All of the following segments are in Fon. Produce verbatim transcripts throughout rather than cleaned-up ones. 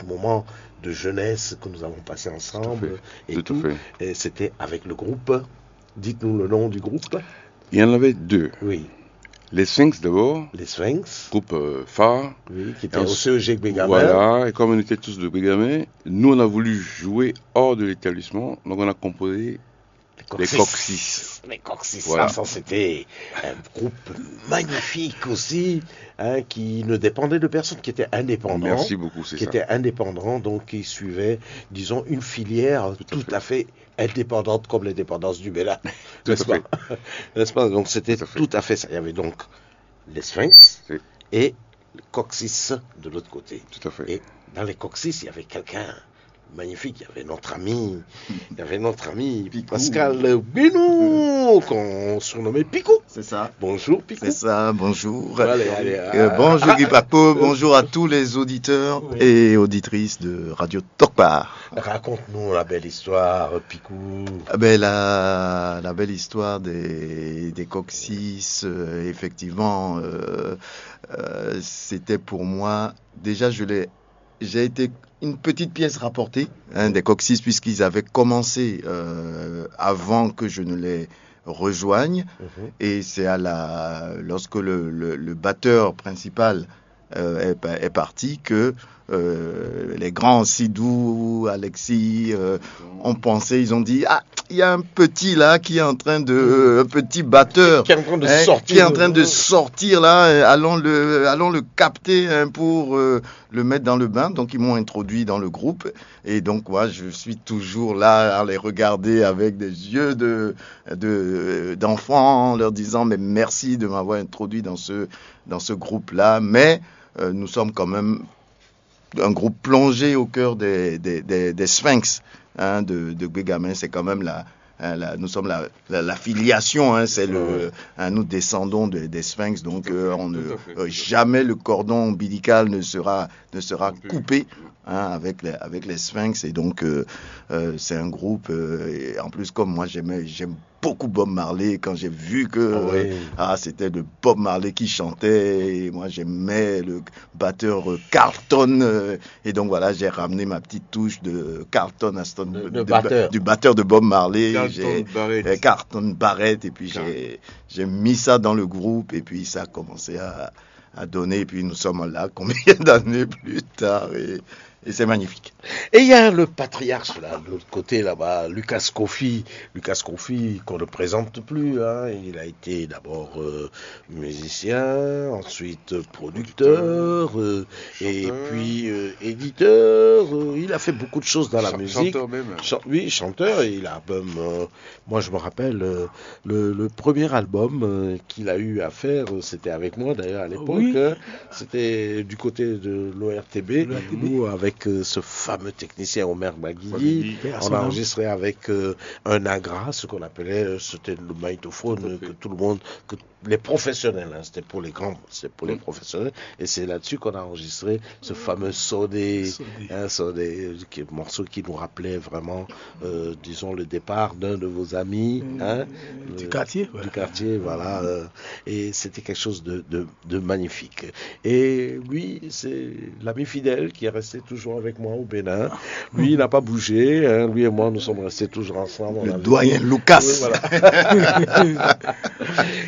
moments de jeunesse que nous avons passés ensemble et tout, et c'était avec le groupe. Dites-nous le nom du groupe. Il y en avait deux. Oui. Les Sphinx d'abord, Les Sphinx, groupe euh, phare. Oui, qui était Et au en- C E G Gbegamin. Voilà, et comme on était tous de Bégamin, nous on a voulu jouer hors de l'établissement, donc on a composé Les les Coxis. Les Coxis. Voilà. Ah, ça, c'était un groupe magnifique aussi, hein, qui ne dépendait de personne, qui était indépendant. Merci beaucoup, c'est Qui ça. Était indépendant, donc qui suivait, disons, une filière tout, à fait indépendante comme l'indépendance du Bénin. Tout à N'est-ce pas? N'est-ce pas? Donc c'était Tout à fait. Tout à fait ça. Il y avait donc les Sphinx Oui. Et les Coxis de l'autre côté. Tout à fait. Et dans les Coxis, il y avait quelqu'un magnifique. Il y avait notre ami, il y avait notre ami Picou. Pascal Bénou, qu'on surnommait Picou. C'est ça. Bonjour Picou. C'est ça, bonjour. Allez, allez, Euh, ah, bonjour Guy Papo, bonjour à tous les auditeurs Oui. et auditrices de Radio Tokpa. Raconte-nous la belle histoire, Picou. Ah ben, la, la belle histoire des, des Coxis, euh, effectivement, euh, euh, c'était pour moi, déjà, je l'ai, j'ai été une petite pièce rapportée, hein, des Coxis, puisqu'ils avaient commencé euh, avant que je ne les rejoigne. Et c'est à la, lorsque le, le- le batteur principal euh, est, pa- est parti que euh, les grands Sidou, Alexis, euh, ont pensé, ils ont dit, ah, il y a un petit là qui est en train de, un petit batteur, Qui est en train de hein, sortir qui est en train de- de sortir là, euh, allons le, allons le capter, hein, pour euh, le mettre dans le bain. Donc ils m'ont introduit dans le groupe et donc moi je suis toujours là à les regarder avec des yeux de, de d'enfant, en leur disant mais merci de m'avoir introduit dans ce dans ce groupe là. Mais euh, nous sommes quand même un groupe plongé au cœur des, des, des- des sphinx, hein, de, de Bégamin. C'est quand même la, hein, la- nous sommes la, la- l'affiliation, hein, c'est le, hein, nous descendons de- des sphinx, donc euh, on ne, Tout à fait, euh, tout à fait. jamais le cordon ombilical ne sera, ne sera Coupé. Coupé, hein, avec, les, avec les sphinx. Et donc euh, euh, c'est un groupe, euh, et en plus comme moi j'aimais, j'aime beaucoup Bob Marley, quand j'ai vu que Ah oui. euh, ah, c'était le Bob Marley qui chantait, et moi j'aimais le batteur euh, Carlton, euh, et donc voilà, j'ai ramené ma petite touche de Carlton Aston, De- de- de de- batteur. du batteur de Bob Marley, Carlton j'ai- Barrett. euh, Carlton Barrett, et puis Car- j'ai j'ai mis ça dans le groupe, et puis ça a commencé à, à donner, et puis nous sommes là combien d'années plus tard, et, et c'est magnifique. Et il y a le patriarche là, de l'autre côté là-bas, Lucas Kofi. Lucas Kofi, qu'on ne présente plus, hein. Il a été d'abord euh, musicien, ensuite producteur, euh, et Chanteur. puis euh, éditeur. Euh, il a fait beaucoup de choses dans la Chan- musique. Chanteur même. Chan- oui, chanteur. Et il a même, euh, moi, je me rappelle, euh, le, le premier album euh, qu'il a eu à faire, euh, c'était avec moi d'ailleurs à l'époque. Oui. Hein. C'était du côté de l'O R T B, L'O R T B. Où avec euh, ce fameux technicien Omer Baguigui, Baguigui. Paix à on son a âme. Enregistré avec euh, un agra, ce qu'on appelait, euh, c'était le magnétophone Tout à fait. Que tout le monde, que les professionnels, hein, c'était pour les grands, c'était pour les Mm. Professionnels, et c'est là-dessus qu'on a enregistré ce fameux Sodé, Sodé. Hein, Sodé, euh, qui, morceau qui nous rappelait vraiment, euh, disons, le départ d'un de vos amis, Mm, hein, du le- quartier, ouais. du quartier, voilà, euh, et c'était quelque chose de, de- de magnifique. Et lui, c'est l'ami fidèle qui est resté toujours avec moi au Bénin. Lui, il n'a pas bougé, hein, lui et moi, nous sommes restés toujours ensemble. On Le avait- doyen Lucas. Oui, voilà.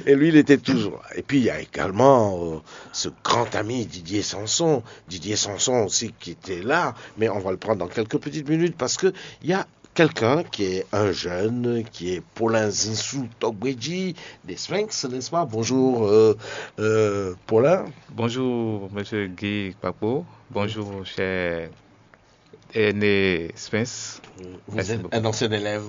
Et lui, il était toujours là. Et puis, il y a également euh, ce grand ami Didier Sanson. Didier Sanson aussi qui était là, mais on va le prendre dans quelques petites minutes parce que il y a quelqu'un qui est un jeune, qui est Paulin Zinsou Togbeji, des Sphinx, n'est-ce pas? Bonjour, euh, euh, Paulin. Bonjour, monsieur Guy Papo. Bonjour, cher Aîné Sphinx. Vous êtes un ancien élève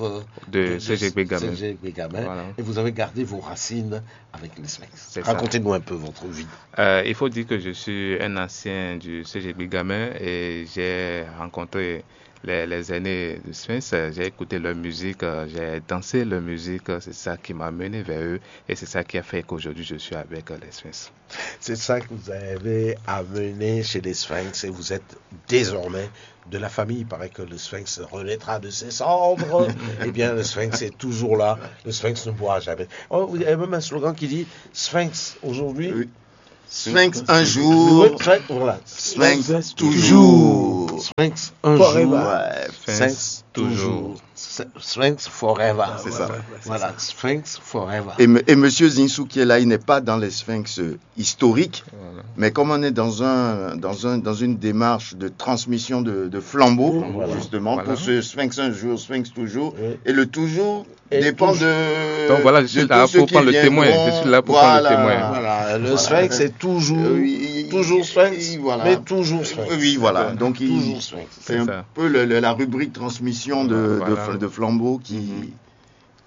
de C G Bégamin. C G Bégamin, Voilà. Et vous avez gardé vos racines avec les Sphinx. C'est ça. Racontez-nous un peu votre vie. Euh, il faut dire que je suis un ancien du C G Bégamin et j'ai rencontré les, les aînés de Sphinx. Euh, J'ai écouté leur musique, euh, j'ai dansé leur musique. Euh, C'est ça qui m'a mené vers eux et c'est ça qui a fait qu'aujourd'hui je suis avec euh, les Sphinx. C'est ça que vous avez amené chez les Sphinx et vous êtes désormais de la famille. Il paraît que le Sphinx renaîtra de ses cendres. Eh bien, le Sphinx est toujours là. Le Sphinx ne mourra jamais. Oh, vous avez même un slogan qui dit Sphinx aujourd'hui. Sphinx un jour, Sphinx, voilà. Sphinx toujours. Sphinx un jour, Sphinx toujours. Sphinx forever. C'est ça. Voilà, Sphinx forever. Et, et monsieur Zinsou qui est là, il n'est pas dans les Sphinx euh, historiques, mais comme on est dans, un, dans, un, dans une démarche de transmission de, de flambeau, justement, pour ce Sphinx un jour, Sphinx toujours, et le toujours dépend de. Donc voilà, je suis là pour prendre le témoin. Je suis là pour prendre le témoin. Voilà, le Sphinx est toujours, toujours Sphinx, mais toujours Sphinx. Oui, voilà. Donc, toujours Sphinx. C'est un peu le, le, la rubrique transmission de, de, de flambeau qui,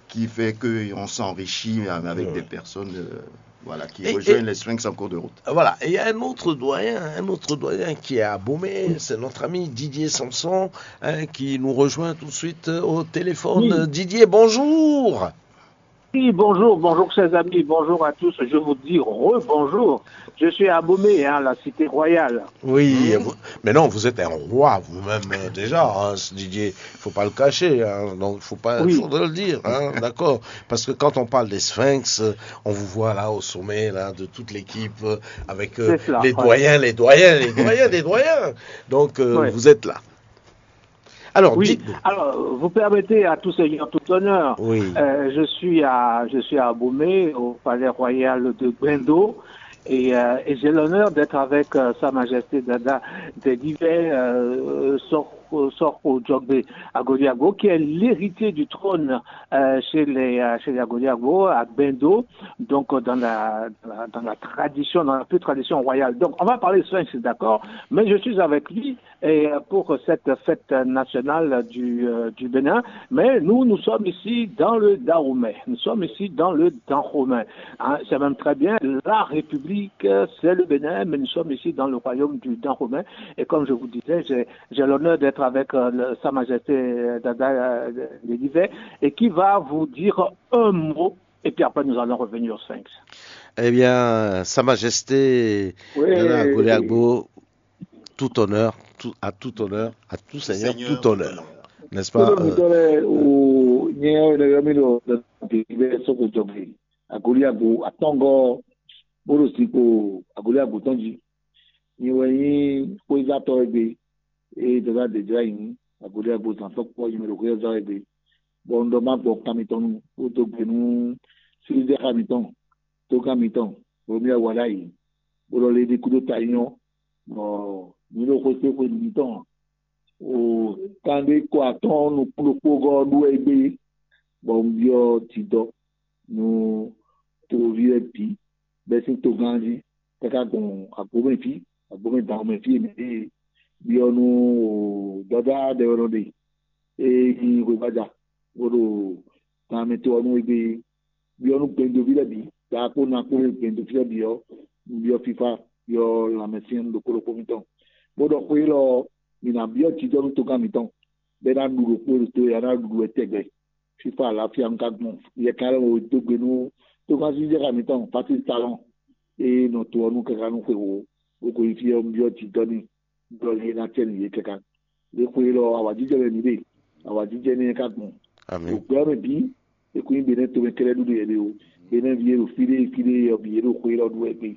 qui fait qu'on s'enrichit avec des personnes euh, voilà, qui rejoignent les Sphinx en cours de route. Voilà, et il y a un autre doyen, un autre doyen qui est à Bomé, c'est notre ami Didier Samson hein, qui nous rejoint tout de suite euh, au téléphone. Oui. Didier, bonjour. Oui, bonjour, bonjour chers amis, bonjour à tous. Je vous dis rebonjour. Je suis à Bomé, hein, la cité royale. Oui, vous- mais non, vous êtes un roi vous-même euh, déjà, hein, ce Didier. Il faut pas le cacher, hein, donc il faut pas, Oui. Faudrait le dire, hein, d'accord. Parce que quand on parle des Sphinx, euh, on vous voit là au sommet là de toute l'équipe euh, avec euh, C'est cela, les ouais. Doyens, les doyens, les doyens, les doyens. Donc euh, Ouais. Vous êtes là. Alors, Oui, dites-nous. Alors, vous permettez à tous ces gens tout honneur. Oui. Euh, je suis à, je suis à Bomé, au palais royal de Gbendo, et, euh, et j'ai l'honneur d'être avec euh, Sa Majesté Dada Dédivé euh, Sor- Sorko Djogbe Agoliagbo, qui est l'héritier du trône euh, chez les euh, chez les Agoliagbo à Gbendo, donc euh, dans la, dans la dans la tradition, dans la pure tradition royale. Donc, on va parler de Sphinx, d'accord, mais je suis avec lui et euh, pour cette fête nationale du, euh, du Bénin. Mais nous, nous sommes ici dans le Dahomey. Nous sommes ici dans le Dahomey. Hein, c'est même très bien. La République, euh, c'est le Bénin, mais nous sommes ici dans le royaume du Dahomey. Et comme je vous disais, j'ai, j'ai l'honneur d'être avec euh, le- Sa Majesté euh, Dada euh, Dédivé et qui va vous dire un mot. Et puis après, nous allons revenir au Sphinx. Eh bien, Sa Majesté Oui. Dada Agoliagbo, tout honneur, tout, à tout honneur, à tout seigneur, tout honneur. N'est-ce pas Kódó mi euh, dɔ lɛ o nyɛ ɔ ne yɔ mi ɖo ɖe bɛ sɔkò jɔgbe Agoliagbo atɔngɔ bó ɖo zinkpo Agoliagbo tɔn jí. Nyi wɛ nyí xwézatɔ e gbe eye dada ɖe jlá nyi Agoliagbo zan tɔn kpɔ nyi mɛ ɖo xwézatɔ e gbe. Bɔ un ɖɔ ma gbɔ kan mitɔn nu bó dó gbe nú sílízɛ́xa mitɔn, tógán mitɔn, Romia Walayi, bó ɖɔ lé ɖi kúdó ta nyɔ, bɔ mǐ ɖo xwé kpé xwe mitɔn o kanɖé kɔ atɔ́ɔ́n nukún ɖokpó gɔ́ ɔ́ ɖu wɛ é gbé, bɔ un byɔ́ jidɔ nú toví lɛ́ɛ bǐ bɛ́ sín togán jí, káká gbɔn agbǒmɛ fí, agbǒmɛ dǎnmɛ fí e mǐ ɖe byɔ́ nú dɔ̌dá ɖɛ ɔ́ nɔ ɖe. E nyí hwebája bó ɖo gan mɛ to ɔ́ nú égbé byɔ́ nú gbendoví lɛ́ɛ bǐ, ɖaxó ná kpó gbɛ̌ndoví lɛ́ɛ bǐ ɔ́, un byɔ́ fífá byɔ́ lanmɛsyɛ́n ɖokpó ɖokpó mitɔn, bó ɖɔ xó élɔ́ ɔ́, mǐ ná byɔ́ jijɔ́ nú togán mitɔn, bɔ é ná ɖu ɖokpó ɖo to e a ná ɖu wɛ tɛgbɛ. Fífá alǎfia un ka gbɔn yɛkan lɛ́ɛ wo dó gbe nú togán sísɛ́ xá mitɔn Patísi Talɔn e nɔ to ɔ́ nú káká nú xwewǒ, bó ko yi fí ɔ́, un byɔ́ jijɔ́ n'i, bɔ é ná cɛ nú yě káká. Ɖě xwe élɔ́ ɔ́, awǎjijɛ wɛ mǐ ɖe, awǎjijɛ énɛ́ ka gbɔn. Amín. Ɖo gbɛ ɔ́ mɛ bǐ, é kún nyí Benɛ́ tomɛ kɛ́ɖɛ́ ɖuɖu yɛ ɖe ó. Benɛ́ví e ɖo fí ɖé fí ɖé ɔ́ bǐ, yě ɖo xwe élɔ́ ɖu wɛ gbé.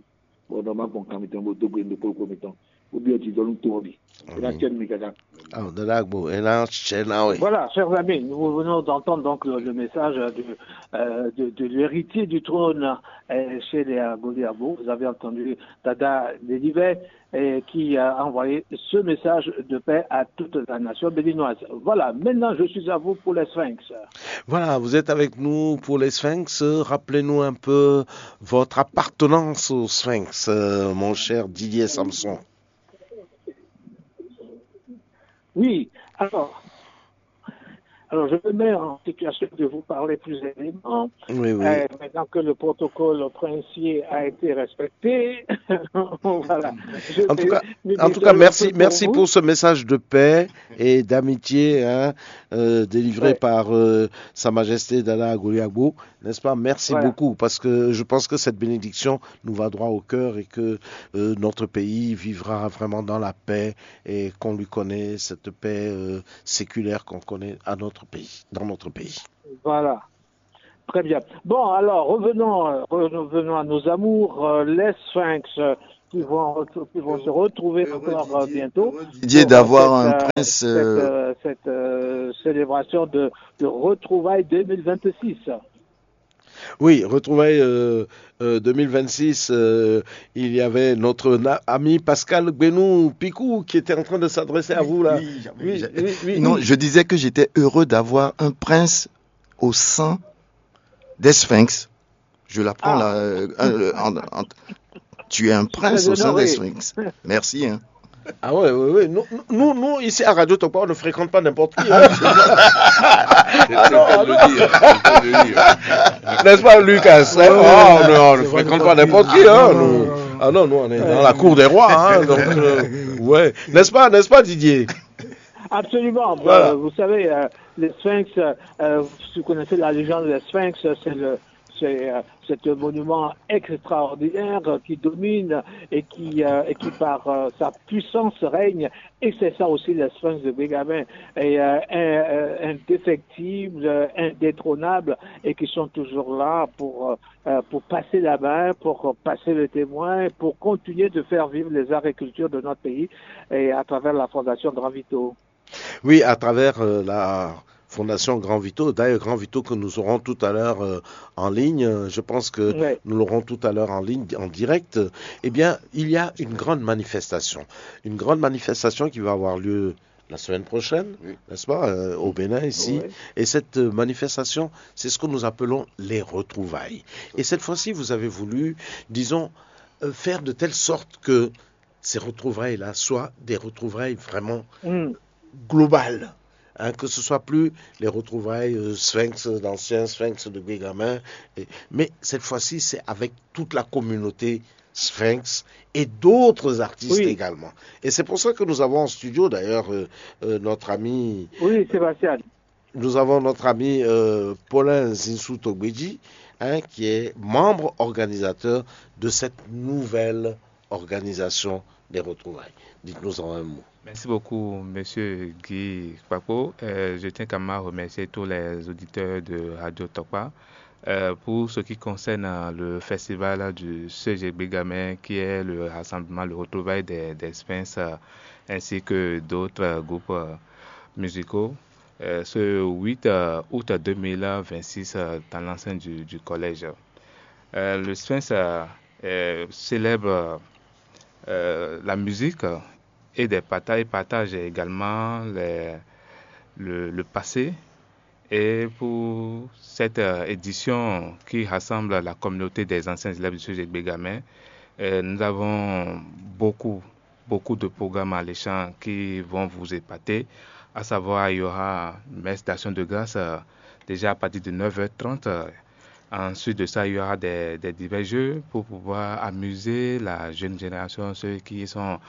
Bɔ nɔ ma gbɔn kan mitɔn bó dó gbe ɖokpó ɖokpó mitɔn, bó byɔ́ jijɔ nú to ɔ́ bǐ. É ná cɛ nú mi káká. Aw, Dada Agbo, é ná cɛ ná wɛ. Voilà, chers amis, nous venons d'entendre donc le, le message de, euh, de, de l'héritier du trône euh, chez les Agoliabo. Vous avez entendu Dada Dédivé euh, qui a envoyé ce message de paix à toute la nation béninoise. Voilà, maintenant je suis à vous pour les Sphinx. Voilà, vous êtes avec nous pour les Sphinx. Rappelez-nous un peu votre appartenance au Sphinx, euh, mon cher Didier Samson. Oui, alors, alors je me mets en situation de vous parler plus aisément. Oui, oui. Euh, maintenant que le protocole princier a été respecté, voilà. Je En tout vais cas, me en tout détendre cas, un merci, peu pour merci vous. Pour ce message de paix et d'amitié hein, euh, délivré Ouais. Par euh, Sa Majesté Dada Agoliagbo, n'est-ce pas ? Merci Voilà. Beaucoup parce que je pense que cette bénédiction nous va droit au cœur et que euh, notre pays vivra vraiment dans la paix et qu'on lui connaît cette paix euh, séculaire qu'on connaît à notre pays, dans notre pays. Voilà. Très bien. Bon, alors, revenons, euh, revenons à nos amours. Euh, les Sphinx, euh, qui vont, qui vont se retrouver encore euh, bientôt. Didier, pour, euh, d'avoir cette, un euh, prince. Cette, euh, euh, cette, euh, célébration de, de retrouvailles deux mille vingt-six. Oui, retrouvailles euh, euh, deux mille vingt-six, euh, il y avait notre na- ami Pascal Gbenou Picou qui était en train de s'adresser à vous là. Oui, oui, oui, oui. Non, je disais que j'étais heureux d'avoir un prince au sein des Sphinx. Je l'apprends là. Euh, euh, en- en- tu es un prince au sein des Sphinx. Merci. Hein. Ah ouais, ouais, ouais. Nous, nous, nous, ici à Radio Tokpa, on ne fréquente pas n'importe qui. Hein. Ah non, ah non. N'est-ce pas, Lucas? Hein? Oh, non, on ne fréquente pas n'importe qui. Hein, nous. Ah non, nous, on est dans la cour des rois. Hein, donc, euh, ouais. N'est-ce pas, n'est-ce pas, Didier? Absolument. Voilà. Euh, vous savez, euh, les Sphinx, euh, si vous connaissez la légende des Sphinx, c'est le, c'est euh, c'est un monument extraordinaire qui domine et qui, euh, et qui par euh, sa puissance règne. Et c'est ça aussi les Sphinx de Bégamin, et euh, un- euh, indéfectibles, euh, indétrônables, et qui sont toujours là pour, euh, euh, pour passer la main, pour passer le témoin, pour continuer de faire vivre les arts et cultures de notre pays et à travers la Fondation Grand Vito. Oui, à travers euh, la Fondation Grand Vito. D'ailleurs, Grand Vito que nous aurons tout à l'heure euh, en ligne, euh, je pense que nous l'aurons tout à l'heure en ligne, en direct. Eh bien, il y a une grande manifestation. Une grande manifestation qui va avoir lieu la semaine prochaine, n'est-ce pas, euh, au Bénin ici. Oui. Et cette euh, manifestation, c'est ce que nous appelons les retrouvailles. Et cette fois-ci, vous avez voulu, disons, euh, faire de telle sorte que ces retrouvailles-là soient des retrouvailles vraiment globales. Hein, que ce soit plus les retrouvailles euh, Sphinx, d'anciens Sphinx de Bégamin, et- mais cette fois-ci, c'est avec toute la communauté Sphinx et d'autres artistes Oui. également. Et c'est pour ça que nous avons en studio d'ailleurs euh, euh, notre ami Oui, Sébastien. Nous avons notre ami euh, Paulin Zinsou Togbeji, hein, qui est membre organisateur de cette nouvelle organisation des retrouvailles. Dites-nous en un mot. Merci beaucoup, Monsieur Guy Kpakpo. Euh, je tiens quand même à remercier tous les auditeurs de Radio Tokpa. Euh, pour ce qui concerne euh, le festival du C G B Gamin, qui est le rassemblement, le retrouvail des, des Sphinx, euh, ainsi que d'autres euh, groupes euh, musicaux, euh, ce huit euh, août deux mille vingt-six euh, dans l'enceinte du, du collège. Euh, le Sphinx euh, euh, célèbre euh, la musique et des partages, partage également les- le, le passé. Et pour cette euh, édition qui rassemble la communauté des anciens élèves du C G B Gamin, euh, nous avons beaucoup, beaucoup de programmes alléchants qui vont vous épater. À savoir, il y aura une messe d'action de grâce euh, déjà à partir de neuf heures trente. Euh, Ensuite de ça, il y aura des, des divers jeux pour pouvoir amuser la jeune génération, ceux qui sont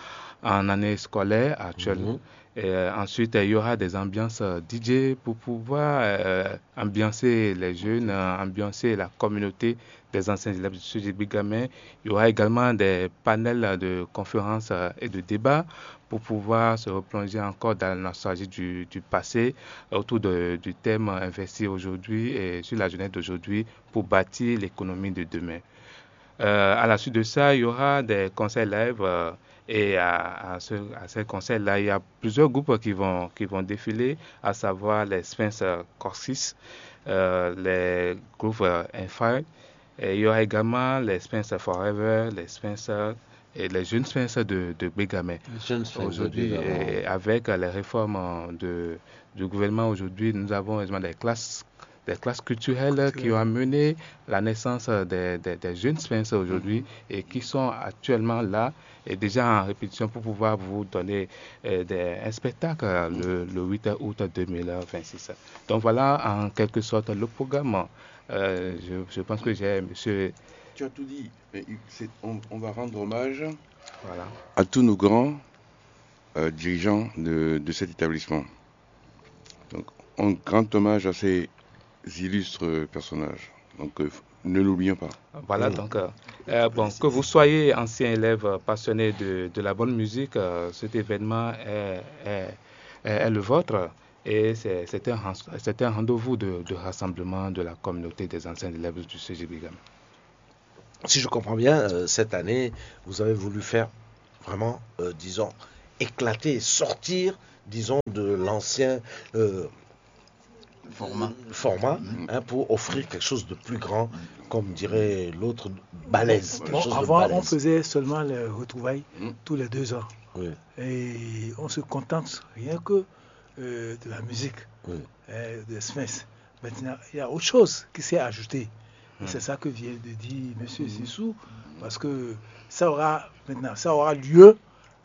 en année scolaire actuelle. Mhm. Et euh, ensuite, il y aura des ambiances euh, D J pour pouvoir euh, ambiancer les jeunes, euh, ambiancer la communauté des anciens élèves du C G B Gamin. Il y aura également des panels de conférences euh, et de débats pour pouvoir se replonger encore dans la nostalgie du, du passé autour de- du thème investi aujourd'hui et sur la jeunesse d'aujourd'hui pour bâtir l'économie de demain. Euh, à la suite de ça, il y aura des concerts live euh, et à, à ce- à ces concerts-là, il y a plusieurs groupes qui vont, qui vont défiler, à savoir les Sphinx euh, Corsis, euh, les groupes euh, Infy, et il y aura également les Sphinx Forever, les Sphinx euh, et les jeunes Sphinx de, de Bégamé. Les jeunes Sphinx de aujourd'hui, Bégamé. Et avec euh, les réformes euh, de, du gouvernement aujourd'hui, nous avons également des classes, des classes culturelles qui ont amené la naissance euh, des, des- des jeunes Sphinx aujourd'hui et qui sont actuellement là et déjà en répétition pour pouvoir vous donner euh, des- un spectacle euh, le, le huit août deux mille vingt-six. Donc voilà en quelque sorte le programme. Euh, je, je pense que j'ai, monsieur Tu as tout dit. Mais il- c'est- on, on va rendre hommage Voilà. à tous nos grands euh, dirigeants de, de cet établissement. Donc, un grand hommage à ces illustres personnages. Donc, euh, ne l'oublions pas. Voilà, donc, euh, euh, bon, que vous soyez ancien élève euh, passionné de, de la bonne musique, euh, cet événement est, est- est- est le vôtre. Et c'est c'est un, ren- c'est un rendez-vous de, de rassemblement de la communauté des anciens élèves du C G B Gamin. si je comprends bien, euh, cette année, vous avez voulu faire vraiment, euh, disons, éclater, sortir, disons, de l'ancien euh, Format. format, hein, pour offrir quelque chose de plus grand, comme dirait l'autre, balèze. Quelque Bon, chose de avant, on balèze. Faisait seulement les retrouvailles Mm. tous les deux ans. Oui. Et on se contente rien que euh, de la musique, Oui. euh, de Sphinx. Maintenant, il y a autre chose qui s'est ajoutée. Et c'est ça que vient de dire Monsieur Sissou, parce que ça aura maintenant, ça aura lieu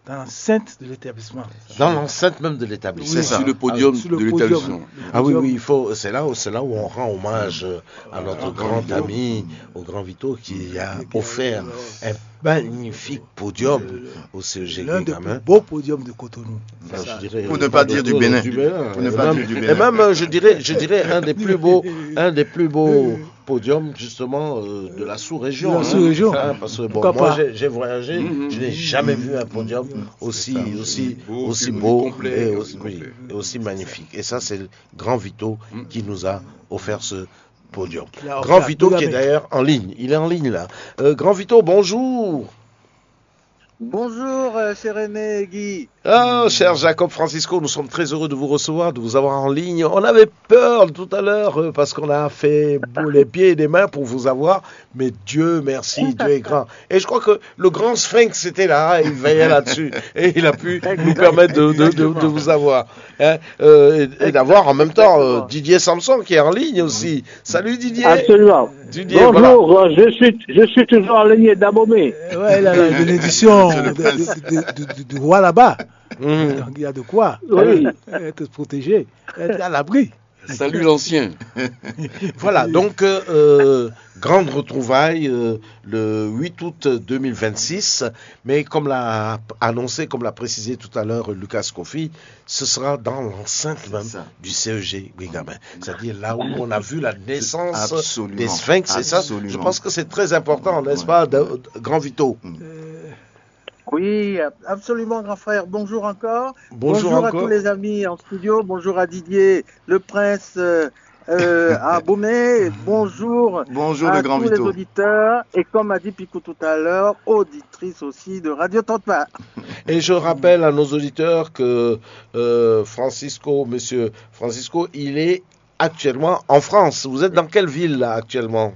dans l'enceinte de l'établissement. Dans l'enceinte même de l'établissement. Oui, Sur le podium Sur le de podium. L'établissement. Le Ah oui, podium. Oui, il faut, c'est là, où- c'est là où on rend hommage euh, à notre Au grand grand Vito. Ami, au grand Vito, qui a Qui a- offert euh, un magnifique podium au C E G L'un des Guingamp. Plus beaux podiums de Cotonou. Enfin, Ça. je dirais, Pour ne pas dire du Bénin. Du Bénin. Pour ne Et pas même, dire du et Bénin. Même, euh, je dirais, je dirais un des plus beaux, un des plus beaux podiums justement euh, de la sous-région. De la Hein. Sous-région. Hein, parce que bon, Pourquoi moi, pas? J'ai j'ai voyagé, Mhm. Je n'ai jamais vu un podium aussi, C'est ça. Aussi Beau, aussi puis beau complet, et et aussi, complet. Oui, et aussi magnifique. Et ça, c'est le grand Vito qui nous a offert ce podium. Il a Grand offert Vito qui est Guingamp. D'ailleurs en ligne. Il est en ligne là. Euh, grand Vito, bonjour. Bonjour, euh, cher René et Guy. Ah, cher Jacob Francisco, nous sommes très heureux de vous recevoir, de vous avoir en ligne. On avait peur tout à l'heure euh, parce qu'on a fait bout les pieds et les mains pour vous avoir, mais Dieu merci, Dieu est grand. Et je crois que le grand sphinx était là, il veillait là-dessus et il a pu nous permettre de, de- de- de vous avoir. Hein, euh, et et d'avoir en même temps euh, Didier Samson qui est en ligne aussi. Salut Didier. Absolument. Didier, voilà. Bonjour, euh, je suis, je suis toujours en ligne d'Abomey. Euh, Ouais, il a la bénédiction C'est le de- prince. de- de- du- du roi là-bas. Mhm. Donc il y a de quoi Oui. Être protégé, être à l'abri. Salut l'ancien. Voilà, donc euh, euh, grande retrouvaille euh, le huit août deux mille vingt-six, mais comme l'a annoncé, comme l'a précisé tout à l'heure Lucas Kofi, ce sera dans l'enceinte même Ça. Du C E G Guingamp. C'est-à-dire là où on a vu la naissance Absolument. Des Sphinx, et ça, Absolument. Je pense que c'est très important, n'est-ce Ouais. Pas, de- Grand Vito. Oui, absolument, grand frère. Bonjour encore. Bonjour à encore. Tous les amis en studio. Bonjour à Didier, le prince euh, euh, à Abomey. Bonjour Bonjour à le grand tous les Vito. Auditeurs. Et comme a dit Picou tout à l'heure, auditrice aussi de Radio Tantpa. Et je rappelle à nos auditeurs que euh, Francisco, monsieur Francisco, il est actuellement en France. Vous êtes dans quelle ville là actuellement ?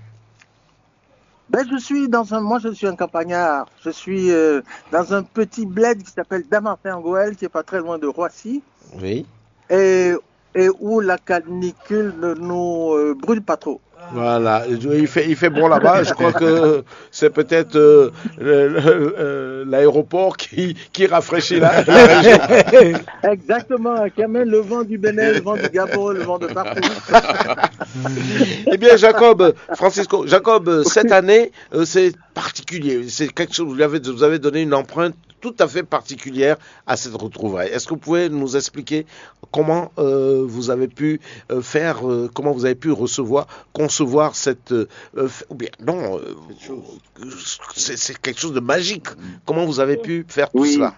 Ben, je suis dans un, moi je suis un campagnard. Je suis euh, dans un petit bled qui s'appelle Damartin-Angoël, qui est pas très loin de Roissy, Oui. et, et où la canicule ne nous euh, brûle pas trop. Voilà, il fait, il fait bon là-bas. Je crois que c'est peut-être euh, le- le- euh, l'aéroport qui, qui rafraîchit la, la région. Exactement, qui amène le vent du Bénin, le vent du Gabon, le vent de partout. Eh bien, Jacob, Francisco, Jacob, euh, cette année, euh, c'est particulier. C'est quelque chose. Vous avez, vous avez donné une empreinte tout à fait particulière à cette retrouvaille. Est-ce que vous pouvez nous expliquer comment euh, vous avez pu euh, faire, euh, comment vous avez pu recevoir, concevoir cette, euh, euh, f- ou bien non, euh, c'est c'est quelque chose de magique. Comment vous avez pu faire tout Oui. Cela ?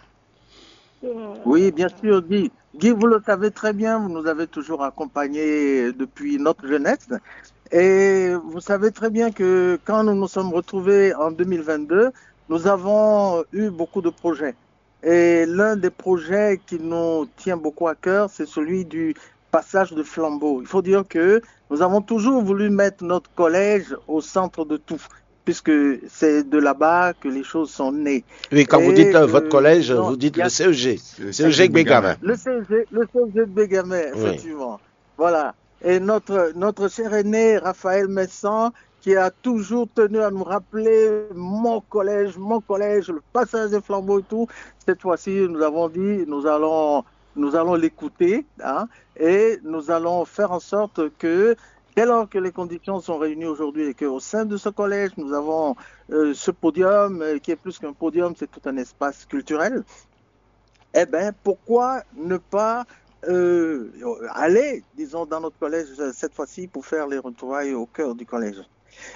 Oui, bien sûr, Guy. Guy, vous le savez très bien, vous nous avez toujours accompagnés depuis notre jeunesse. Et vous savez très bien que quand nous nous sommes retrouvés en deux mille vingt-deux, nous avons eu beaucoup de projets. Et l'un des projets qui nous tient beaucoup à cœur, c'est celui du passage de flambeau. Il faut dire que nous avons toujours voulu mettre notre collège au centre de tout, puisque c'est de là-bas que les choses sont nées. Oui, quand vous Et dites euh, que- votre collège, non, vous dites il y a- le C E G. Le C E G Guingamp. Le C E G, le C E G de Bégamey, Oui. Effectivement. Voilà. Et notre, notre cher aîné, Raphaël Messan, qui a toujours tenu à nous rappeler mon collège, mon collège, le passage des flambeaux et tout. Cette fois-ci, nous avons dit, nous allons, nous allons l'écouter, hein, et nous allons faire en sorte que, dès lors que les conditions sont réunies aujourd'hui et qu'au sein de ce collège, nous avons euh, ce podium, euh, qui est plus qu'un podium, c'est tout un espace culturel, eh bien, pourquoi ne pas euh, aller, disons, dans notre collège euh, cette fois-ci pour faire les retrouvailles au cœur du collège ?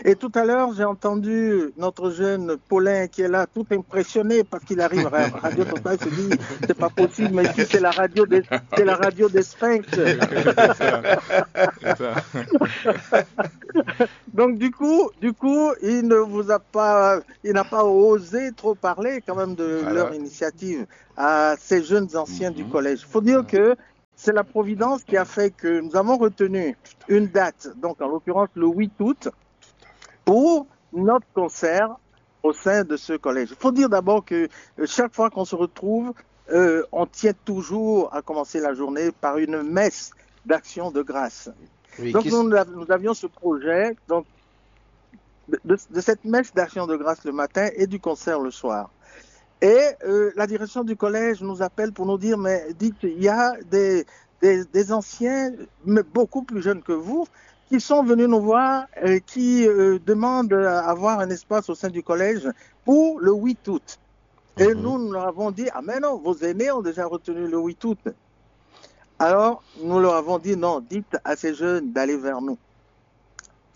Et tout à l'heure, j'ai entendu notre jeune Paulin qui est là, tout impressionné parce qu'il arrive à Radio Total, il se dit, c'est pas possible, mais ici, c'est la radio des, c'est la radio des Sphinx. Donc, du coup, du coup, il ne vous a pas, il n'a pas osé trop parler quand même de leur initiative à ces jeunes anciens du collège. Il faut dire que c'est la Providence qui a fait que nous avons retenu une date, donc en l'occurrence le huit août, pour notre concert au sein de ce collège. Il faut dire d'abord que euh, chaque fois qu'on se retrouve, euh, on tient toujours à commencer la journée par une messe d'action de grâce. Donc nous, nous avions ce projet donc, de, de- de cette messe d'action de grâce le matin et du concert le soir. Et euh, la direction du collège nous appelle pour nous dire, mais dites, il y a des, des, des anciens, mais beaucoup plus jeunes que vous, qui sont venus nous voir, euh, qui euh, demandent à avoir un espace au sein du collège pour le huit août. Et nous, nous leur avons dit, ah mais non, vos aînés ont déjà retenu le huit août. Alors, nous leur avons dit, non, dites à ces jeunes d'aller vers nous.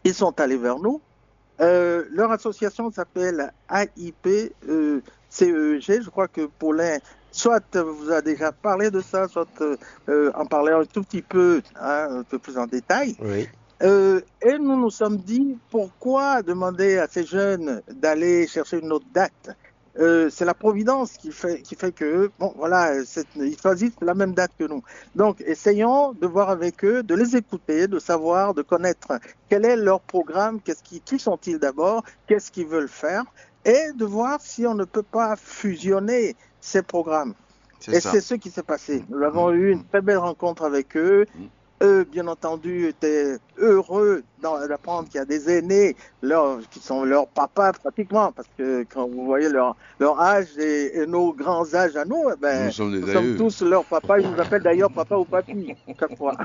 Ils sont allés vers nous. Euh, leur association s'appelle A I P euh, C E G. Je crois que Paulin, soit vous a déjà parlé de ça, soit euh, en parler un tout petit peu, hein, un peu plus en détail. Oui. Euh, et nous nous sommes dit, pourquoi demander à ces jeunes d'aller chercher une autre date ? Euh, c'est la providence qui fait, qui fait que, bon, voilà, c'est- ils choisissent la même date que nous. Donc, essayons de voir avec eux, de les écouter, de savoir, de connaître quel est leur programme, qu'est-ce qui, qui sont-ils d'abord, qu'est-ce qu'ils veulent faire, et de voir si on ne peut pas fusionner ces programmes. C'est Et ça. c'est ce qui s'est passé. Nous avons eu une très belle rencontre avec eux. Eux, bien entendu, étaient heureux d'en- d'apprendre qu'il y a des aînés, leurs- qui sont leurs papas pratiquement, parce que quand vous voyez leur, leur âge et, et nos grands âges à nous, eh ben, Nous sommes des nous sommes aïeux. Tous leurs papas. Ils nous appellent d'ailleurs papa ou papy, chaque fois.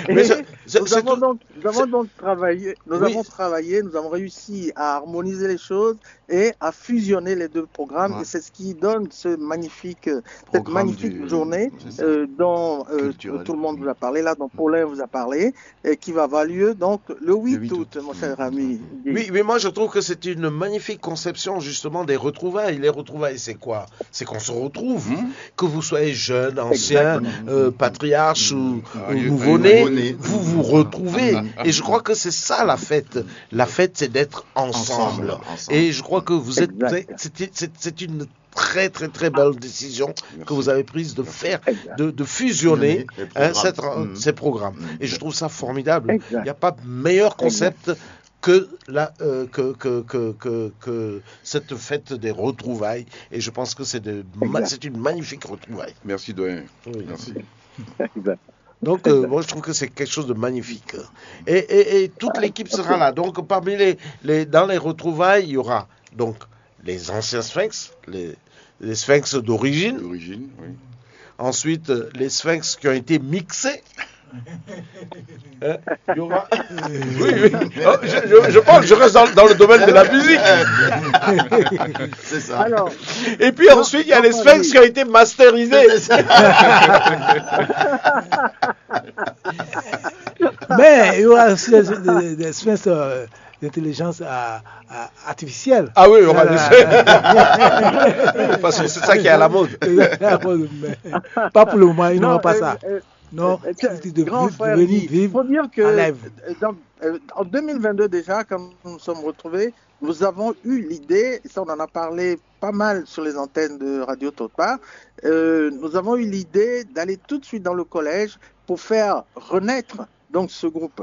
Mais Et c'est- c'est- nous, c'est avons tout- donc, nous avons donc travaillé, nous Oui. avons travaillé, nous avons réussi à harmoniser les choses et à fusionner les deux programmes. Ouais. Et c'est ce qui donne ce magnifique, cette Programme magnifique du- journée c'est ça. euh, dont euh, Culturel. Tout le monde vous a parlé, là, dont Paulin vous a parlé, et qui va avoir lieu donc le huit, Le huit août, août. Mon cher ami. Oui, mais moi je trouve que c'est une magnifique conception justement des retrouvailles. Les retrouvailles, c'est quoi ? C'est qu'on se retrouve, que vous soyez jeune, ancien, euh, patriarche ou, Ah, ou oui, nouveau-né, nouveau-né. Vous vous retrouvez. Et je crois que c'est ça la fête. La fête, c'est d'être ensemble. Ensemble, ensemble. Et je crois que vous êtes, Exact. c'est- c'est c'est- c'est une très très très belle décision que vous avez prise de faire, de, de fusionner Les hein, programmes. cette- Mhm. ces programmes. Et je trouve ça formidable. Exact. Il n'y a pas de meilleur concept que, la, euh, que, que, que, que, que cette fête des retrouvailles. Et je pense que c'est de ma- Exact. C'est une magnifique retrouvaille. Merci, doyen. Oui. Merci. Exact. Donc, euh, moi, je trouve que c'est quelque chose de magnifique. Et, et- et toute l'équipe sera là. Donc, parmi les, les, dans les retrouvailles, il y aura donc les anciens Sphinx, les, les Sphinx d'origine. D'origine, oui. Ensuite, euh, les Sphinx qui ont été mixés. Hein, il y aura... Oui, oui. Oh, je, je- je pense que je reste dans, dans le domaine de la musique. C'est ça. Alors, Et puis ensuite, il y a les Sphinx qui ont été masterisés. Mais il y aura aussi des, des, des espèces euh, d'intelligence euh, euh, artificielle. Ah oui, il y aura Là, des... là, là. Parce que c'est ça qui est à la mode. Mais pas pour le moment, ils n'auront pas euh, ça. euh, Non, euh, c'est de grand vivre- frère, venir il vivre faut dire que en live. euh, donc, euh, en deux mille vingt-deux déjà, quand nous nous sommes retrouvés, nous avons eu l'idée, et ça on en a parlé pas mal sur les antennes de Radio Topa, euh, nous avons eu l'idée d'aller tout de suite dans le collège pour faire renaître donc ce groupe.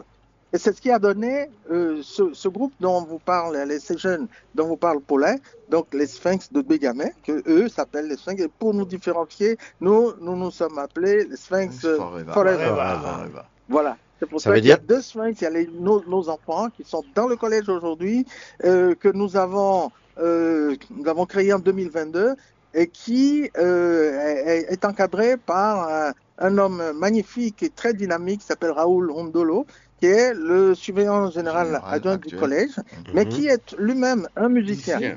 Et c'est ce qui a donné euh, ce, ce groupe dont vous parle, les, ces jeunes dont vous parle Paulin, donc les Sphinx de Bégamé, que eux s'appellent les Sphinx. Et pour nous différencier, nous, nous nous sommes appelés les Sphinx euh, Forever. Forever. Forever. Voilà. C'est pour Ça ça, veut qu'il y a dire deux Sphinx. Il y a les- nos, nos enfants qui sont dans le collège aujourd'hui, euh, que nous avons, euh, nous avons créé en deux mille vingt-deux et qui euh, est, est encadré par un, un homme magnifique et très dynamique qui s'appelle Raoul Hondolo, qui est le surveillant général Général adjoint du actuel. Collège, mais qui est lui-même un musicien. Musicien.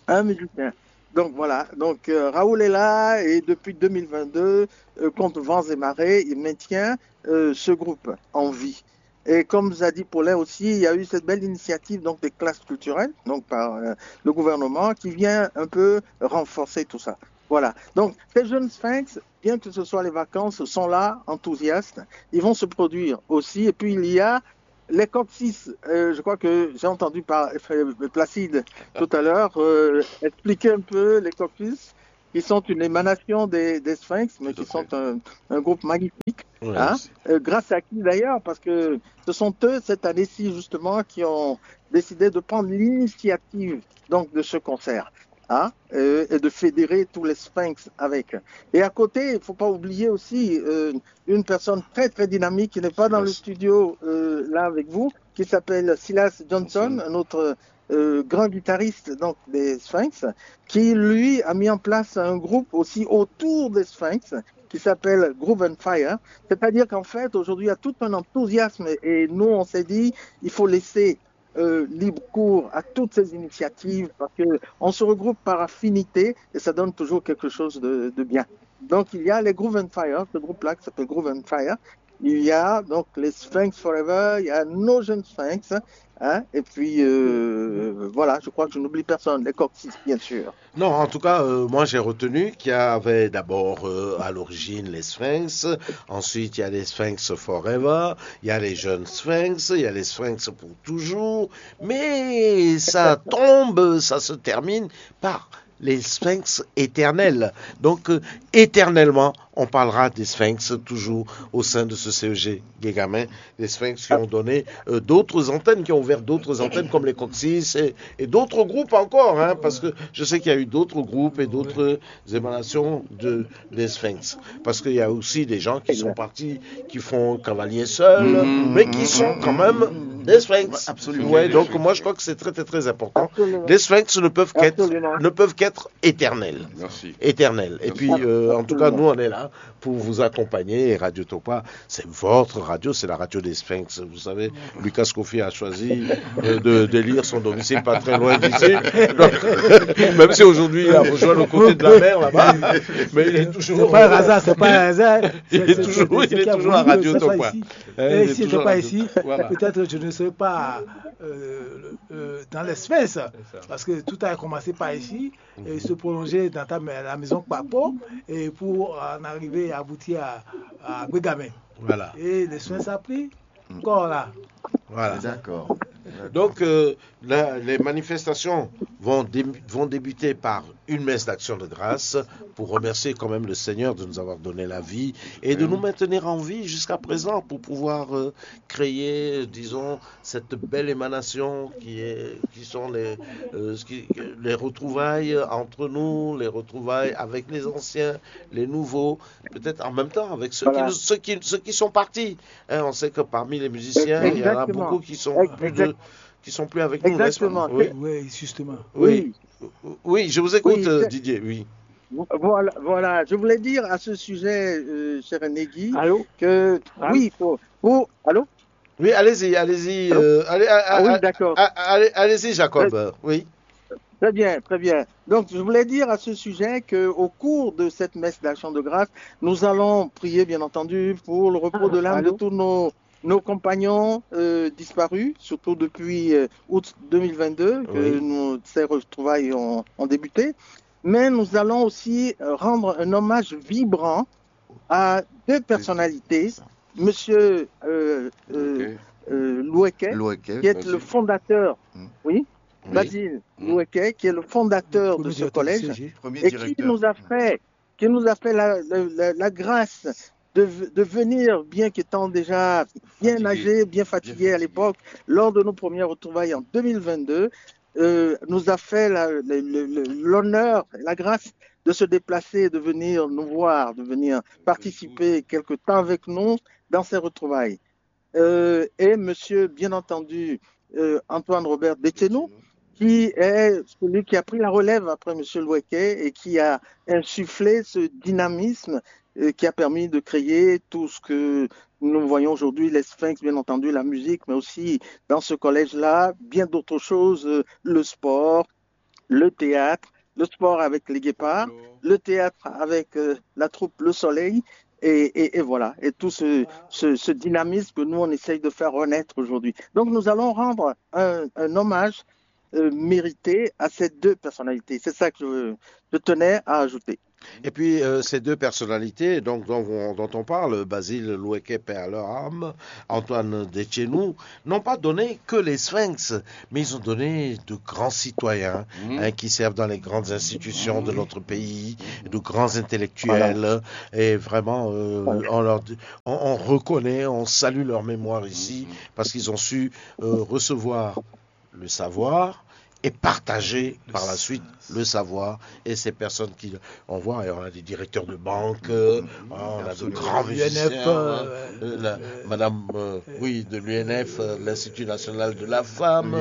Un musicien. Donc voilà, donc euh, Raoul est là et depuis deux mille vingt-deux, euh, contre vents et marées, il maintient euh, ce groupe en vie. Et comme Zadi Paulin aussi, il y a eu cette belle initiative donc des classes culturelles donc par euh, le gouvernement qui vient un peu renforcer tout ça. Voilà. Donc ces jeunes sphinx, bien que ce soit les vacances, sont là, enthousiastes. Ils vont se produire aussi. Et puis il y a les coccyx. Euh, je crois que j'ai entendu par euh, Placide tout à l'heure euh, expliquer un peu les coccyx qui sont une émanation des, des sphinx, mais qui sont un, un groupe magnifique. Hein, euh, grâce à qui d'ailleurs, parce que ce sont eux cette année-ci justement qui ont décidé de prendre l'initiative donc de ce concert, hein, euh, et de fédérer tous les sphinx avec. Et à côté, il ne faut pas oublier aussi euh, une personne très très dynamique qui n'est pas dans le studio euh, là avec vous, qui s'appelle Silas Johnson, un autre euh, grand guitariste donc des Sphinx, qui lui a mis en place un groupe aussi autour des Sphinx qui s'appelle Groove and Fire. C'est-à-dire qu'en fait, aujourd'hui, il y a tout un enthousiasme et nous, on s'est dit, il faut laisser euh, libre cours à toutes ces initiatives parce qu'on se regroupe par affinité et ça donne toujours quelque chose de, de bien. Donc, il y a les Groove and Fire, ce groupe-là qui s'appelle Groove and Fire. Il y a donc les Sphinx Forever, il y a nos jeunes Sphinx. Hein, et puis, euh, voilà, je crois que je n'oublie personne, les coccyx, bien sûr. Non, en tout cas, euh, moi j'ai retenu qu'il y avait d'abord euh, à l'origine les Sphinx, ensuite il y a les Sphinx Forever, il y a les jeunes Sphinx, il y a les Sphinx pour toujours, mais ça tombe, ça se termine par les Sphinx éternels. Donc, euh, éternellement, on parlera des Sphinx toujours au sein de ce C E G Guégamé, des Sphinx qui ont donné euh, d'autres antennes, qui ont ouvert d'autres antennes comme les Coccyx et, et d'autres groupes encore, hein, parce que je sais qu'il y a eu d'autres groupes et d'autres émanations de, des Sphinx. Parce qu'il y a aussi des gens qui sont partis, qui font cavalier seul, mais qui sont quand même des Sphinx. Absolument. Ouais, donc moi je crois que c'est très très très important. Absolument. Les Sphinx ne peuvent qu'être Absolument. ne peuvent qu'être éternels. Merci. Éternels. Et puis euh, en tout cas, nous on est là pour vous accompagner. Et Radio Topa, c'est votre radio, c'est la radio des Sphinx. Vous savez, Lucas Kofi a choisi euh, de, de lire son domicile pas très loin d'ici. Donc, même si aujourd'hui il a rejoint le côté de la mer là-bas, mais il est toujours. C'est pas un hasard, c'est pas un hasard. Il est toujours, il est toujours à Radio Topa. Hein, Et il est si c'était toujours pas à- ici, Voilà. Peut-être je ne serais pas euh, euh, dans les Sphinx, parce que tout a commencé par ici, et se prolonger dans ta, la maison Kpakpo, et pour en arriver à aboutir à, à Guégamé. Voilà. Et les Sphinx a pris corps là. Voilà. D'accord. Donc, euh, la- les manifestations vont, dé- vont débuter par une messe d'action de grâce pour remercier quand même le Seigneur de nous avoir donné la vie et de nous maintenir en vie jusqu'à présent pour pouvoir euh, créer, disons, cette belle émanation qui, est, qui sont les, euh, ce qui- les retrouvailles entre nous, les retrouvailles avec les anciens, les nouveaux, peut-être en même temps avec ceux, Voilà. qui, nous- ceux, qui, ceux qui sont partis. Hein, on sait que parmi les musiciens, il y en a Exactement. beaucoup qui sont plus de, qui sont plus avec nous, n'est-ce pas? Exactement. Oui. Oui, justement. Oui. Oui, je vous écoute, Oui, euh, c'est- Didier. Oui. Voilà, voilà. Je voulais dire à ce sujet, euh, cher Negi, Allô que Allô oui, pour, pour- allô Oui, allez-y, allez-y. Allô euh, allez, à- Ah oui, à- d'accord. à- allez, allez-y, Jacob. euh, Oui. Très bien, très bien. Donc, je voulais dire à ce sujet qu'au cours de cette messe d'action de grâce, nous allons prier, bien entendu, pour le repos de l'âme de Allô tous nos, nos compagnons euh, disparus, surtout depuis euh, août deux mille vingt-deux, que Oui. nous ces retrouvailles ont, ont débuté. Mais nous allons aussi euh, rendre un hommage vibrant à deux personnalités, Monsieur euh, euh, Ok. euh, Loueke, Loueke, qui est vas-y. le fondateur, Mm. oui, Oui. Basile Mm. Loueke, qui est le fondateur Premier de ce directeur du collège C G. Premier et qui directeur. nous a fait, qui nous a fait la, la- la- la grâce de, v- de venir, bien qu'étant déjà bien Fatigué. âgé, bien fatigué à fatigué. L'époque, lors de nos premières retrouvailles en deux mille vingt-deux, euh, nous a fait la- le- le- le- l'honneur, la grâce de se déplacer, de venir nous voir, de venir participer quelque temps avec nous dans ces retrouvailles. Euh, et monsieur, bien entendu, euh, Antoine Robert Déthénou, qui est celui qui a pris la relève après monsieur Loueke et qui a insufflé ce dynamisme euh, qui a permis de créer tout ce que nous voyons aujourd'hui, les Sphinx, bien entendu, la musique, mais aussi dans ce collège-là, bien d'autres choses, euh, le sport, le théâtre, le sport avec les guépards, le théâtre avec euh, la troupe Le Soleil, Et, et- et voilà, et tout ce, ce- ce dynamisme que nous, on essaye de faire renaître aujourd'hui. Donc, nous allons rendre un, un hommage euh, mérité à ces deux personnalités. C'est ça que je, je tenais à ajouter. Et puis, euh, ces deux personnalités donc, dont, on- dont on parle, Basile Loueke, paix à leur âme, Antoine Dechenou, n'ont pas donné que les Sphinx, mais ils ont donné de grands citoyens hein, qui servent dans les grandes institutions de notre pays, de grands intellectuels. Et vraiment, euh, on, leur, dit- on- on reconnaît, on salue leur mémoire ici, parce qu'ils ont su euh, recevoir le savoir et partager par la suite le savoir. Et ces personnes qui, on voit, on a des directeurs de banque, euh, on a de grands musiciens, hein, euh, la- Madame, euh, oui, de l'U N F, euh, l'Institut national de la femme.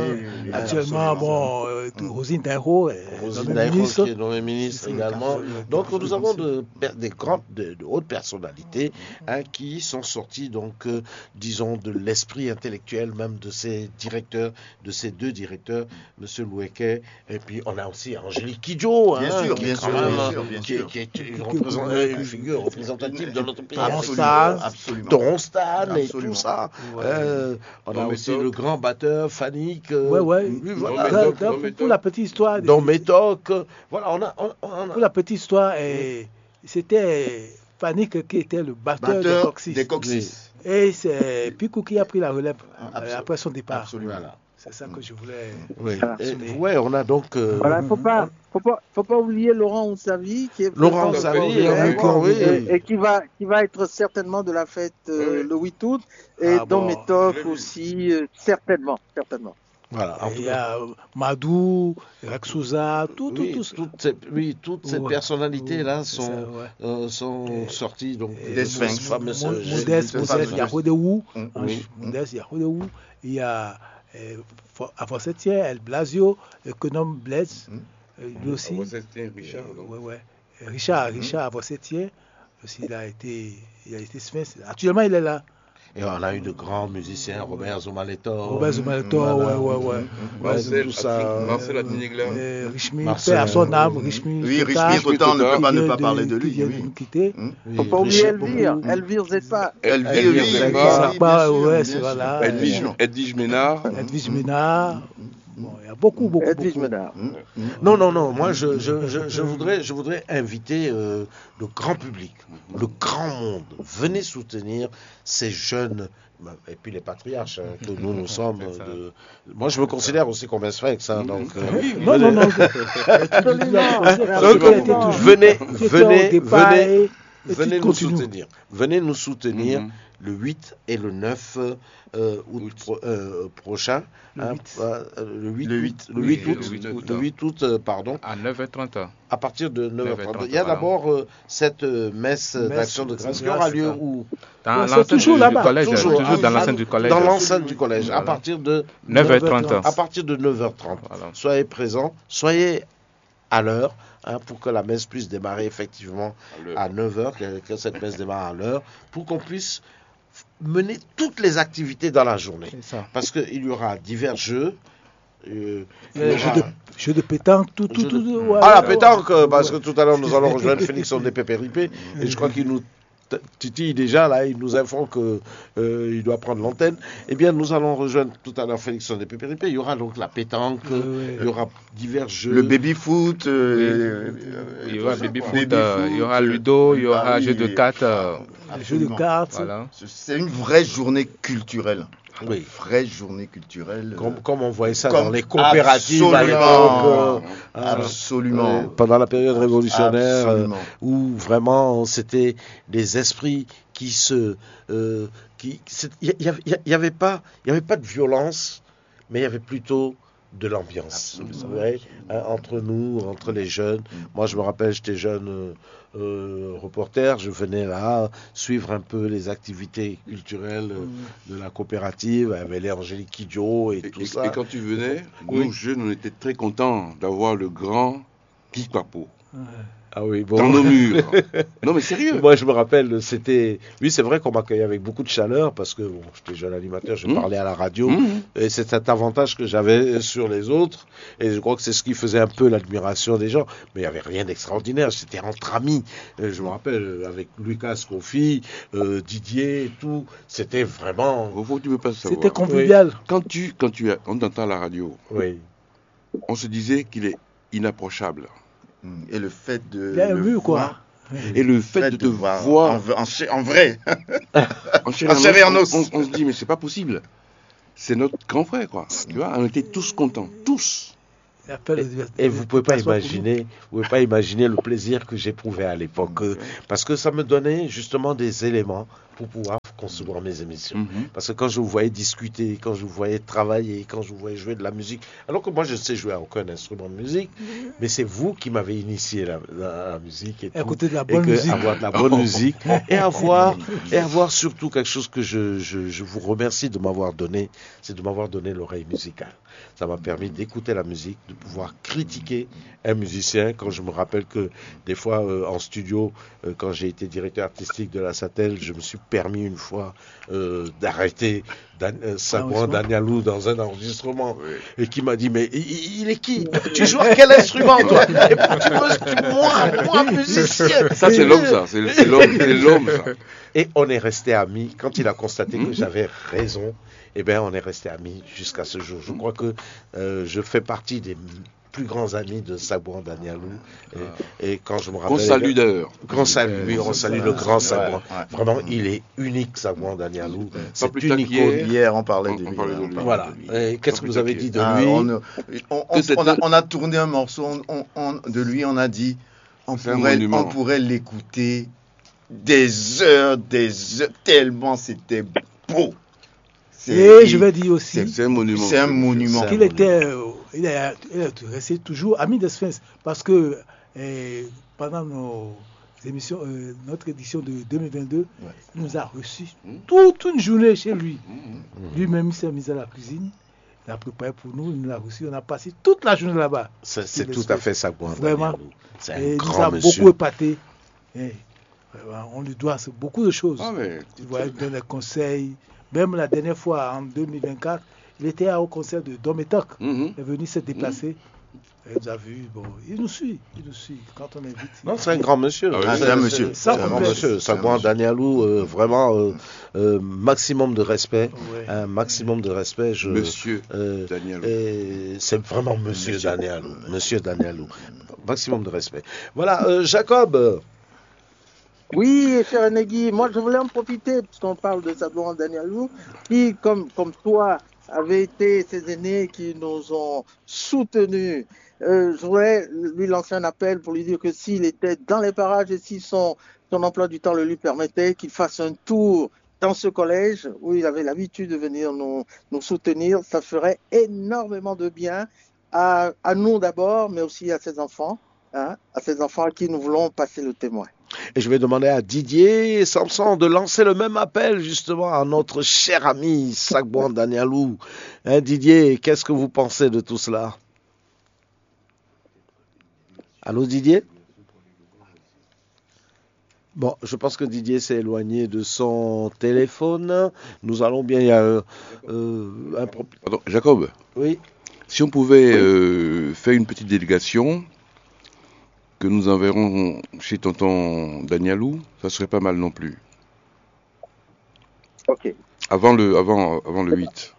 Actuellement, bon, euh, Rosine Dairo, Rosine Dairo, qui est nommée ministre également. Donc nous avons de, des grandes, de, de hautes personnalités hein, qui sont sorties, donc, euh, disons, de l'esprit intellectuel même de ces directeurs, de ces deux directeurs, Monsieur Loueke, et puis on a aussi Angélique Kidjo, Bien hein, sûr, qui bien est sûr, quand même, bien euh, sûr, bien qui, est- sûr. qui est une, représent- euh, une figure représentative de notre pays. Absolument, Absolument, Star. Absolument. Toron Stan et Absolument. Tout ça. Ouais. Euh, on a Dom aussi Métoc. Le grand batteur, Fanik. Euh, Ouais, ouais. Lui, voilà. Dans- Métoc, dans- Dom Métoc. Pour la petite histoire, Dom Métoc, euh, voilà, on a, on, on a- pour la petite histoire, eh, c'était Fanik qui était le batteur, Batteur de Coxis. Des Coxis. Et c'est Picou qui a pris la relève euh, Absolument. après son départ. Absolument. Voilà. C'est ça que je voulais. Oui. Voilà. Et- ouais, on a donc. Euh, Voilà, il faut pas, faut pas, faut pas oublier Laurent Oussavi, qui est Laurent présent Oussavi, aujourd'hui, oui, oui. et, et qui va, qui va être certainement de la fête euh, Oui. le huit août, et Ah Dom bon. Métoc Je l'ai vu. aussi, euh, certainement, certainement. Voilà, en Et tout il y cas. a Madou, Raksouza, tout, tout, Oui, tout ça. toutes ces, oui, toutes ces Ouais. personnalités-là C'est sont, ça, ouais. euh, sont sorties donc Des de Sphinx. ce fameux Mo- jeu. Modeste, Des Modeste Sphinx. Yahodewou. Mm, Hein, oui. Modeste Yahodewou. Il y a euh, Fo- Avant-Sentier, El Blasio, Econome Bless, Mm. euh, lui aussi. Avant-Sentier, Richard, donc. Ouais, ouais. Richard, Richard Avant-Sentier, aussi, il a été, il a été Sphinx. Actuellement, il est là. Et on a eu de grands musiciens, Robert Zumaletor, Robert Zumaletor, voilà. ouais, ouais, ouais. Ouais, Marcel, tout ça. Marcel Adminiglin. Euh, Richmi, Marcel, paix à son âme, oui. Richmi Oui, Total, Richmi Total, on ne peut pas qui ne vient pas de- parler de qui lui. vient de Oui. nous quitter. Oui, Faut pas oublier Richard- Elvire, Elvire Zepa. Elvire, Elvire oui, oui, Zepa. oui, oui, bien Zepa, sûr, ouais, bien c'est sûr, voilà. bien Edwige, sûr. Edwige Ménard. Edwige Ménard. Bon, il y a beaucoup, beaucoup, Edwige beaucoup. Ménard. Mm, mm. Non, non, non. Moi, je, je, je, je voudrais, je voudrais inviter euh, le grand public, le grand monde. Venez soutenir ces jeunes. Et puis les patriarches hein, que nous, nous sommes. C'est ça. De... Moi, je me considère aussi comme un Sphinx. Hein, donc, euh, Oui, Non, venez- non, non. Donc, Tu étais toujours- venez, tu étais au venez, départ venez, et- et venez tu nous continues. Soutenir. Venez nous soutenir Mhm. le huit et le neuf euh, août, Août. pro- euh, prochain. Le Hein, huit. euh, le huit Le août. huit. Le Oui, huit le août. huit août. Le huit août, euh, pardon. À neuf heures trente. À partir de neuf heures trente. neuf heures trente, Il y a voilà. d'abord euh, cette euh, messe Messe d'action de de grâce qui grâce, aura c'est lieu ça. où Dans Ouais, c'est l'enceinte toujours du, là-bas. du collège. Toujours, Toujours dans ah, l'enceinte du collège. Dans l'enceinte du collège, à Voilà. partir de neuf heures trente. À partir de neuf heures trente. Voilà. Soyez présents, soyez à l'heure hein, pour que la messe puisse démarrer effectivement À l'heure. à neuf heures, que, que cette messe démarre à l'heure, pour qu'on puisse mener toutes les activités dans la journée. C'est ça. Parce qu'il y aura divers jeux. Euh, il y Euh, jeu, aura- de, jeu de pétanque, tout, tout, Jeu de- tout. Ouais, Ah, la ouais. Pétanque, euh, parce que tout à l'heure nous allons rejoindre Félix Dépépé-Ripé. Et je crois qu'il nous t- titille déjà, là, il nous informe que euh, il doit prendre l'antenne. Eh bien, nous allons rejoindre tout à l'heure Félix Dépépé-Ripé. Il y aura donc la pétanque, Ouais, ouais. Il y aura divers jeux. Le baby-foot. Il y aura baby-foot, euh, il y aura ludo, il y aura euh, jeu de cartes. Euh, Jeu de cartes. Voilà. C'est une vraie journée culturelle. Oui. Vraie journée culturelle. Comme, comme on voyait ça Comme- dans les coopératives à absolument. L'époque. Euh, Absolument. euh, pendant la période révolutionnaire, euh, Absolument. Où vraiment c'était des esprits qui se. Euh, qui, c'est- Il n'y avait, il y avait pas, il y avait pas de violence, mais il y avait plutôt de l'ambiance. Absolument. Vous voyez, hein, entre nous, entre les jeunes. Moi, je me rappelle, j'étais jeune euh, euh, reporter, je venais là suivre un peu les activités culturelles euh, de la coopérative, avec les Angélique Kidjo et, Et, tout et- ça. Et quand tu venais, Oui. Nous, jeunes, on était très contents d'avoir le grand Guy Papo. Ouais. Ah oui, bon. Dans nos murs. Non, mais sérieux. Moi, je me rappelle, c'était. Oui, c'est vrai qu'on m'accueillait avec beaucoup de chaleur parce que bon, j'étais jeune animateur, je parlais à la radio. Et c'est cet avantage que j'avais sur les autres. Et je crois que c'est ce qui faisait un peu l'admiration des gens. Mais il n'y avait rien d'extraordinaire. C'était entre amis. Euh, je me rappelle, euh, avec Lucas Scofi, euh, Didier et tout. C'était vraiment. Au fond, tu peux pas savoir. C'était convivial. Quand tu, quand tu as- on t'entend à la radio, oui, on se disait qu'il est inapprochable. Et le fait de. Il y a un mur, quoi. Et le fait de te voir en, en, en vrai, en chair et en os, on, on, se dit, mais c'est pas possible. C'est notre grand frère, quoi. Tu vois, on était tous contents, tous. Et, et vous pouvez pas imaginer, vous pouvez pas imaginer le plaisir que j'éprouvais à l'époque, euh, parce que ça me donnait justement des éléments pour pouvoir concevoir mes émissions. Parce que quand je vous voyais discuter, quand je vous voyais travailler, quand je vous voyais jouer de la musique, alors que moi je ne sais jouer à aucun instrument de musique, mais c'est vous qui m'avez initié à la, la musique et tout, et que avoir de la bonne musique et avoir et avoir surtout quelque chose que je, je, je vous remercie de m'avoir donné, c'est de m'avoir donné l'oreille musicale. Ça m'a permis d'écouter la musique, de pouvoir critiquer un musicien. Quand je me rappelle que des fois, euh, en studio, euh, quand j'ai été directeur artistique de la Satel, je me suis permis une fois euh, d'arrêter Dan, euh, Sagouan Danialou dans un enregistrement et qui m'a dit, mais il, il est qui ? Tu joues à quel instrument, toi ? Et puis tu me, tu moi, moi musicien. Ça c'est l'homme, ça. C'est l'homme, c'est l'homme, ça. Et on est resté amis. Quand il a constaté que j'avais raison, eh bien, on est resté amis jusqu'à ce jour. Je crois que euh, je fais partie des plus grands amis de Sagouan Danialou. Et, et quand je me rappelle. Qu'on salue d'ailleurs. Qu'on salue, oui, on salue le grand Sagouan. Vraiment, il est unique, Sagouan Danialou. C'est une icône. Hier, on parlait de lui. Voilà. Et qu'est-ce que vous avez dit de lui ? On, on, on, a, on, a, tourné un morceau on, de lui, on a dit, on pourrait, on pourrait l'écouter des heures, des heures, tellement c'était beau. Et je vais dire aussi. C'est un monument. C'est un monument. Qu'il était, euh, il, a, il a resté toujours ami de Sphinx. Parce que euh, pendant nos émissions, euh, notre édition de deux mille vingt-deux, il nous a reçus toute une journée chez lui. Lui-même, il s'est mis à la cuisine. Il a préparé pour nous, il nous a reçus. On a passé toute la journée là-bas. C'est tout à fait ça, quoi. Vraiment. Et il nous a beaucoup épaté. Et on lui doit beaucoup de choses. Ah, mais... Il donne des conseils. Même la dernière fois, en deux mille vingt-quatre, il était au concert de Dom et Tok. Il est venu se déplacer. Il nous a vu, bon, il nous suit, il nous suit. Quand on invite. Non, c'est un grand monsieur. Ah, c'est un monsieur. C'est un grand monsieur. Sagouan Danialou, euh, vraiment euh, euh, maximum de respect. Ouais. Un maximum de respect. Je, monsieur euh, Danialou. C'est vraiment monsieur, monsieur Danialou. Monsieur Danialou. Maximum de respect. Voilà, euh, Jacob. Oui, cher Negi, moi je voulais en profiter, puisqu'on parle de Sagouan Danialou, qui, comme, comme toi, avait été ces aînés qui nous ont soutenus. Euh, je voulais lui lancer un appel pour lui dire que s'il était dans les parages et si son, son emploi du temps le lui permettait, qu'il fasse un tour dans ce collège où il avait l'habitude de venir nous, nous soutenir. Ça ferait énormément de bien à, à nous d'abord, mais aussi à ses enfants, hein, à ses enfants à qui nous voulons passer le témoin. Et je vais demander à Didier Samson de lancer le même appel justement à notre cher ami Sagouan Danialou. Hein, Didier, qu'est-ce que vous pensez de tout cela ? Allô, Didier ? Bon, je pense que Didier s'est éloigné de son téléphone. Nous allons bien, il y a euh, euh, un problème. Jacob, oui. Si on pouvait euh, faire une petite délégation que nous enverrons chez tonton Danialou, ça serait pas mal non plus. Ok. Avant le, avant, avant le huit.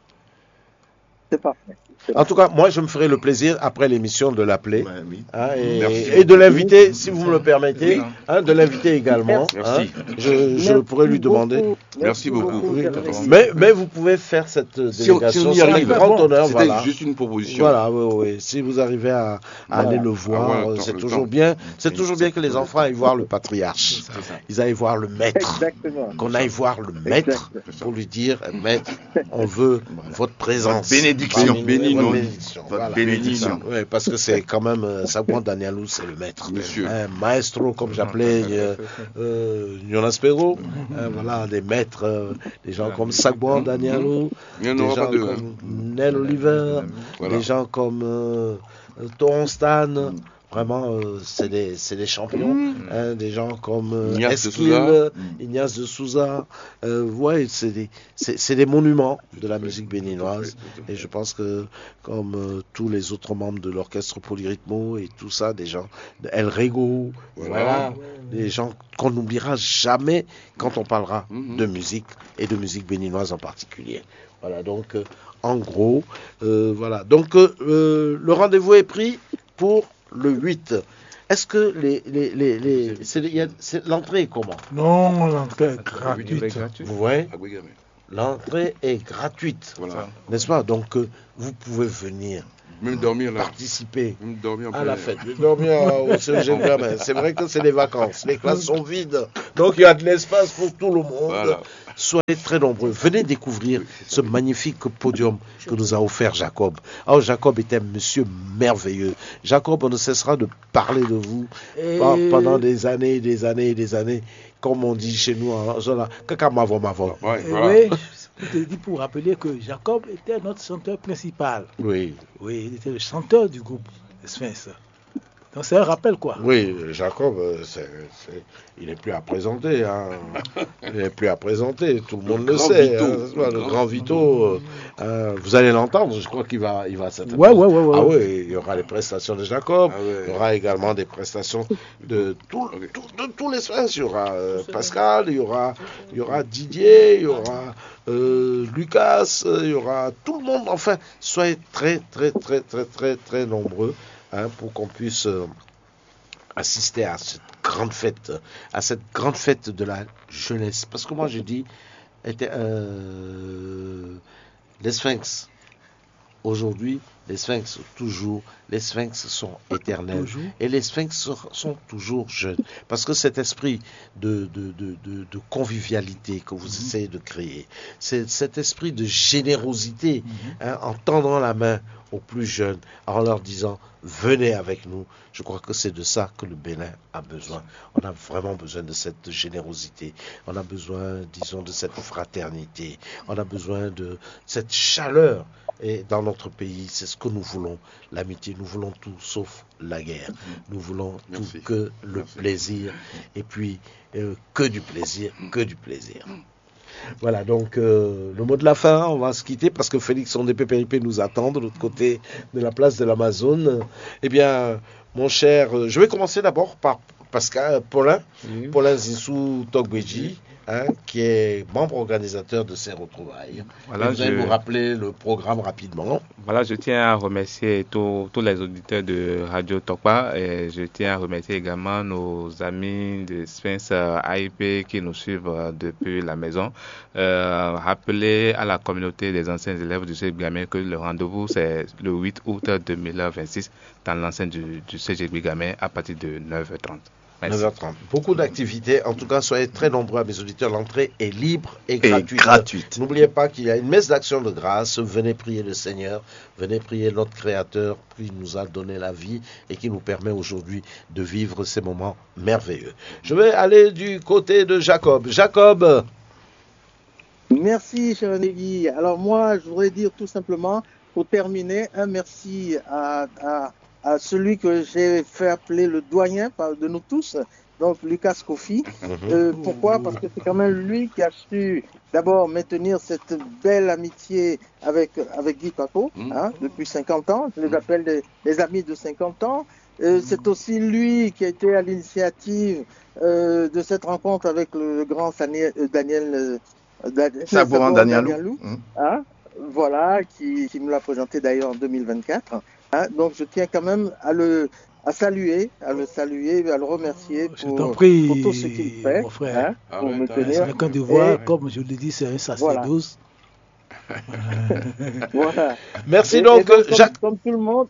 C'est parfait. En tout cas, moi, je me ferai le plaisir, après l'émission, de l'appeler hein, et, et, de l'inviter, si vous me le permettez, hein, de l'inviter également. Hein, je, je pourrais lui demander. Merci beaucoup. Mais, mais vous pouvez faire cette délégation. Si on, si on y arrive, grand honneur. C'était voilà. Juste une proposition. Voilà, oui, oui. Si vous arrivez à, à aller le voir, c'est toujours bien. C'est toujours bien que les enfants aillent voir le patriarche. Ils aillent voir le maître. Qu'on aille voir le maître pour lui dire, maître, on veut votre présence. Bénédiction. Bénis-nous. Bénédiction. Voilà. Bénédiction. Ouais, parce que c'est quand même euh, Sagouan Danialou, c'est le maître. Monsieur. Un maestro, comme j'appelais euh, euh, Jonas Perrault. Euh, voilà, des maîtres, euh, des gens comme Sagouan Danialou, des gens comme Nel Oliver, des gens comme euh, Toron Stan. Vraiment, euh, c'est des, c'est des champions, hein, des gens comme euh, Ignace de Eskil, Souza. Ignace de Souza. Euh, ouais, c'est des, c'est, c'est des monuments de la musique béninoise. Et je pense que, comme euh, tous les autres membres de l'orchestre Polyrythmo et tout ça, des gens, El Rego, voilà, des gens qu'on n'oubliera jamais quand on parlera de musique et de musique béninoise en particulier. Voilà, donc euh, en gros, euh, voilà. Donc euh, euh, le rendez-vous est pris pour le huit. Est-ce que les, les, les, les- c'est- il y a- c'est- l'entrée est comment? Non, l'entrée est Gratuit. Gratuite. Vous voyez, l'entrée est gratuite, Voilà. N'est-ce pas? Donc euh, vous pouvez venir Même dormir là. Participer Même dormir en à plein la air. Fête. Dormir au C E G Gramin. C'est vrai que c'est les vacances. Les classes sont vides. Donc il y a de l'espace pour tout le monde. Voilà. Soyez très nombreux. Venez découvrir ce magnifique podium que nous a offert Jacob. Alors Jacob est un monsieur merveilleux. Jacob, on ne cessera de parler de vous pendant des années et des années et des années. Comme on dit chez nous en Zola, kaka mavo mavo. Ouais, Et voilà. Oui, je te dis pour rappeler que Jacob était notre chanteur principal. Oui. Oui, il était le chanteur du groupe Sphinx. Donc c'est un rappel quoi. Oui, Jacob, euh, c'est, c'est- il n'est plus à présenter. Hein. Il n'est plus à présenter, tout le monde le grand sait. Vito. Hein, c'est pas le grand Vito. Euh, euh, vous allez l'entendre, je crois qu'il va, il va certainement. Ouais, ouais, ouais, ouais, Ah ouais. Oui, il y aura les prestations de Jacob, Ah ouais. il y aura également des prestations de, tout, tout- de tous les Sphinx. Il y aura euh, Pascal, il y aura, il y aura Didier, il y aura euh, Lucas, euh, il y aura tout le monde. Enfin, soyez très, très, très, très, très, très nombreux hein, pour qu'on puisse euh, assister à cette grande fête, à cette grande fête de la jeunesse. Parce que moi, je dis, était, euh, les Sphinx, aujourd'hui, les Sphinx, toujours, les Sphinx sont éternels. Toujours. Et les Sphinx sont, sont toujours jeunes. Parce que cet esprit de, de, de, de- de convivialité que vous essayez de créer, c'est cet esprit de générosité, hein, en tendant la main aux plus jeunes, en leur disant, venez avec nous. Je crois que c'est de ça que le Bénin a besoin. On a vraiment besoin de cette générosité. On a besoin, disons, de cette fraternité. On a besoin de cette chaleur. Et dans notre pays, c'est ce que nous voulons. L'amitié, nous voulons tout sauf la guerre. Nous voulons Merci. Tout que le Merci. Plaisir. Et puis, euh, que du plaisir, que du plaisir. Voilà, donc euh, le mot de la fin, on va se quitter parce que Félix Sondé Pépéripé nous attend de l'autre côté de la place de l'Amazone. Eh bien, mon cher, euh, je vais commencer d'abord par Pascal, Paulin, Paulin Zissou Togbeji, hein, qui est membre organisateur de ces retrouvailles. Voilà, Et vous allez je- nous rappeler le programme rapidement. Voilà, je tiens à remercier tous tous les auditeurs de Radio Tokpa et je tiens à remercier également nos amis de Sphinx euh, A I P qui nous suivent euh, depuis la maison. Euh, rappeler à la communauté des anciens élèves du C G Gamay que le rendez-vous c'est le huit août deux mille vingt-six dans l'enceinte du, du C G Gamay à partir de neuf heures trente. Merci. neuf heures trente. Beaucoup d'activités. En tout cas, soyez très nombreux à mes auditeurs. L'entrée est libre et Et gratuite. gratuite. N'oubliez pas qu'il y a une messe d'action de grâce. Venez prier le Seigneur. Venez prier notre Créateur qui nous a donné la vie et qui nous permet aujourd'hui de vivre ces moments merveilleux. Je vais aller du côté de Jacob. Jacob, Merci, cher Négui. Alors moi, je voudrais dire tout simplement, pour terminer, un merci à, à- à celui que j'ai fait appeler le doyen par- de nous tous, donc Lucas Kofi. Euh, pourquoi? Parce que c'est quand même lui qui a su d'abord maintenir cette belle amitié avec, avec Guy Paco, hein, depuis cinquante ans. Je les appelle les, les amis de cinquante ans. Euh, c'est aussi lui qui a été à l'initiative euh, de cette rencontre avec le, le grand Sani- euh, Daniel euh, Da- Saboran Saboran Danielou. Danielou, Mhm. hein, voilà, qui, qui me l'a présenté d'ailleurs en deux mille vingt-quatre. Hein. Donc je tiens quand même à le à saluer, à le saluer, à le remercier Je pour, t'en prie, pour tout ce qu'il fait, mon frère. hein, pour me Arrête, arrête. C'est tenir. un candidat, Et- comme je le dis, c'est un sacerdoce. Voilà. merci Et- donc. et donc, euh, comme, Jacques- comme tout le monde,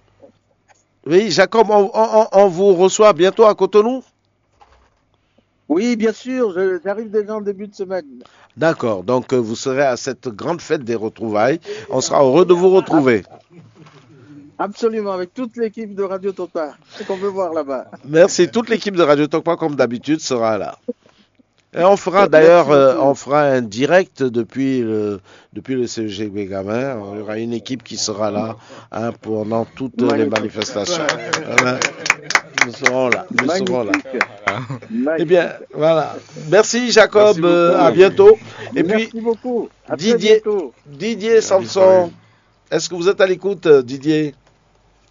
Oui, Jacob, on, on- on vous reçoit bientôt à Cotonou. Oui, bien sûr, je- j'arrive déjà en début de semaine. D'accord, donc euh, vous serez à cette grande fête des retrouvailles. On sera heureux de vous retrouver. Absolument, avec toute l'équipe de Radio Tokpa, qu'on peut voir là-bas. Merci. Toute l'équipe de Radio Tokpa, comme d'habitude, sera là. Et on fera d'ailleurs euh, on fera un direct depuis le, depuis le C E G Bégamin. Il y aura une équipe qui sera là hein, pendant toutes les manifestations. Voilà. Nous serons là. Nous serons là. Eh bien, voilà. Merci Jacob. Euh, à bientôt. Et puis, Didier, Didier Samson, est-ce que vous êtes à l'écoute, euh, Didier?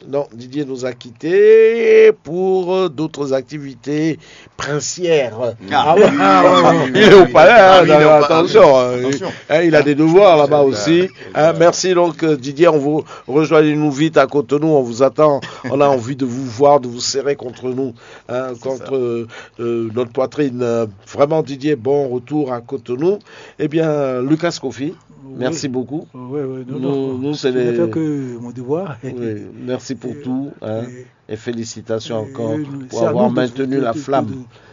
Non, Didier nous a quittés pour, euh, d'autres activités princières. Ah ouais, ah ouais, ouais. Il est au palais, hein, attention, hein, il a des devoirs là-bas aussi. Hein, merci donc, euh, Didier, on vous rejoignez-nous vite à Cotonou, on vous attend. On a envie de vous voir, de vous serrer contre nous, hein, contre, euh, euh, notre poitrine. Euh, vraiment, Didier, bon retour à Cotonou. Eh bien, Lucas Kofi, merci beaucoup. Oui, oui, non, Nous, non. nous, c'est Je n'ai les- fait que mon devoir. Oui, merci pour Euh, tout, hein, euh, et félicitations euh, encore euh, pour c'est à avoir nous de- maintenu de- la de- flamme.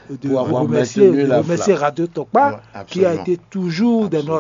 de- de Pour avoir remercier, maintenu de la remercier flamme. Radio Tokpa, Ouais, qui a absolument. Été toujours dans Absolument.